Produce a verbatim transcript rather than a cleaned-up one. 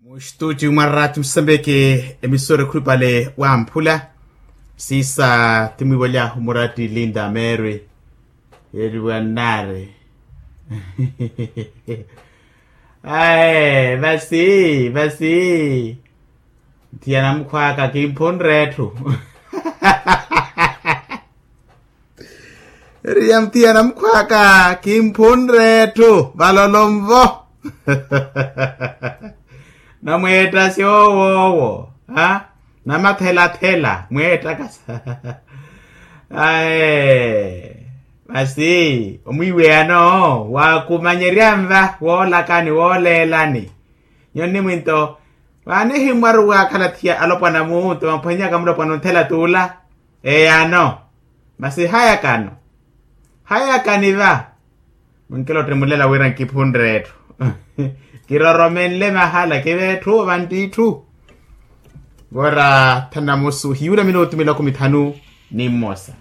Muxtuti mwa rati musambeke emisora ekhulupale wamphula. Sisa timwivoly'ahu murati linda mary. Yeriwa nnari. Ae vasi vasi. Nthiyana mukhwaka kimphunre etthu. Eriya mutiyana mukhwaka kimphunre etthu valolonvo. Namweetta syowoowo. Ha? Namathelathela mweettakasa. Ae masi omwiiweyano waakumanyerya nva woolakani wooleelani. Nyoni mwinto vaanihimmwaru waakhalathiya alopwana muunto vamphwenyaka mulopwana onthela tuula. Eyano. Masi hayakano. Hayakani va. Munkilottimulela wira nkiphunre etthu. Kiroromenle mahala kive etthu vantt'itthu. Vora thanamusu hiyuula minutu miloko mithanu ni mmosa.